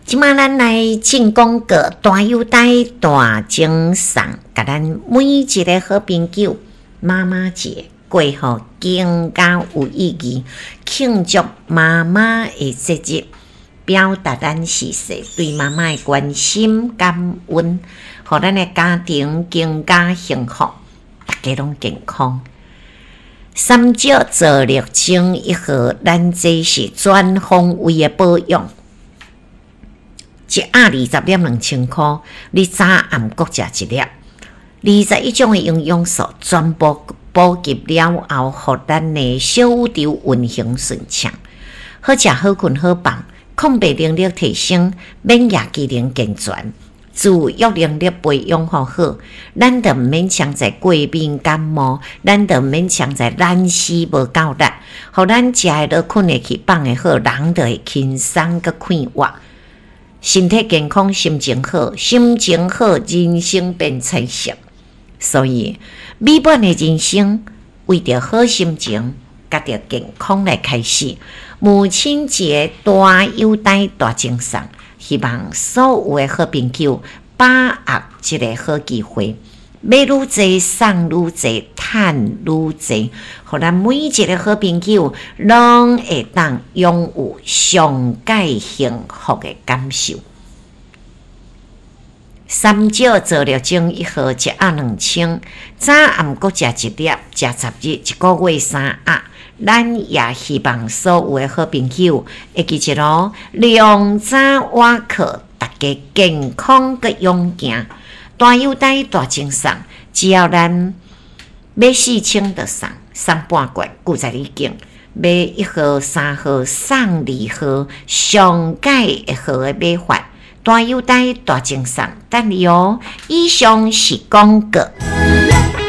這馬咱來進廣告，大有代大贈送，共咱每一个好朋友媽媽節過予更加有意義，慶祝媽媽的節日，表達咱時勢對媽媽的關心感恩，予咱的家庭更加幸福，大家攏健康。三石皂綠精一號，咱這是全方位的保養。一盒20粒2000箍，你早暗各食一粒。21種的營養素全部補給了後，予咱的小宇宙運行順暢，好食好睏好放，抗病能力提升，免疫機能健全，自愈能力培養予好，咱就毋免常在過敏感冒，咱就毋免常在懶死無夠力，予咱食會落、睏會去、放會好，人就會輕鬆閣快活。身體健康，心情好，心情好，人生變彩色。所以，美滿的人生為著好心情，佮著健康來開始。母親節大優待大贈送，希望所有的好朋友把握這个好機會，買愈濟送愈濟，趁愈濟，予咱每一个好朋友攏會當擁有上蓋幸福的感受。三石皂綠精一號一盒2000，早暗各食一粒，食10日，一個月三盒。咱也希望所有的好朋友會記一囉，量早晚課，大家健康閣勇健。大優待大贈送，只要咱買4000就送送半罐，舊在你揀買一號、三號送二號，上蓋會好的買法。大優待大贈送，等你哦！以上是廣告。